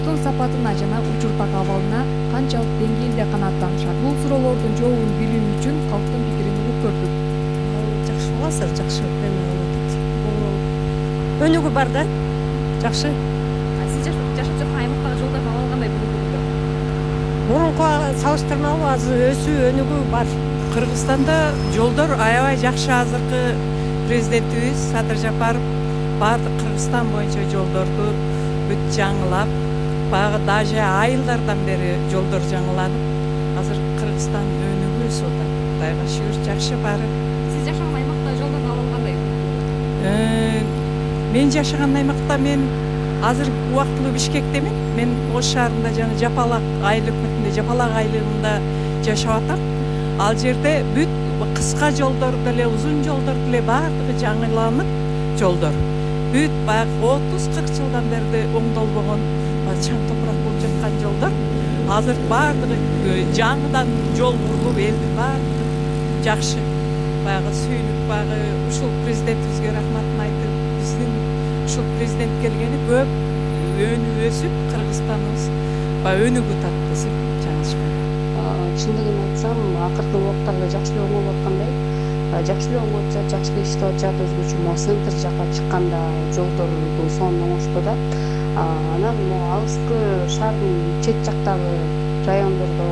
жолдордун сапатына жана учурдагы абалына канчалык деңгээлде канааттанышат? Бул суроолордун жообун билүү үчүн калктын пикирин угуп көрдүк. Жакшы кыласыздар, жакшы эме болуп атат. Бул өнүгүү бар да. Жакшы. Сиз жашап жаткан аймактагы жолдордун абалы кандай бүгүнкү күндө? Мурункуга салыштырмалуу азыр өсүү, өнүгүү бар. Кыргызстанда жолдор аябай жакшы. Азыркы президентибиз Садыр Жапаров баардык Кыргызстан боюнча жолдорду бүт жаңылап, баягы даже айылдардан бери жолдор жаңыланып, азыр Кыргызстан өнүгүү өсүп атат. Кудайга шүгүр, жакшы баары. Сиз жашаган аймактагы жолдордун абалы кандай? Мен жашаган аймакта мен азыр убактылуу Бишкектемин. Мен Ош шаарында жана Жапалак айыл өкмөтүндө, Жапалак айылында жашап атам. Ал жерде бүт кыска жолдор деле, узун жолдор деле баардыгы жаңыланып, жолдор. Бүт баягы 30-40 жылдан бери оңдолбогон, чаң топурак болуп жаткан жолдор азыр баардыгы жаңыдан жол курулуп, элдин баардыгы жакшы. Баягы сүйүнүп, баягы ушул президентибизге рахматын айтып, биздин ушул президент келгени көп өсүп, Кыргызстаныбыз баягы өнүгүп атат десек жаңылышпайт. Чындыгын айтсам, акыркы убакыттарда жакшы эле оңолуп аткандай. Жакшы эле оңолуп атат, жакшы эле иштеп атышат. Өзгөчө могу центр жакка чыкканда жолдорду сонун оңошту да. Анан могу алыскы шаардын чет жактагы райондордо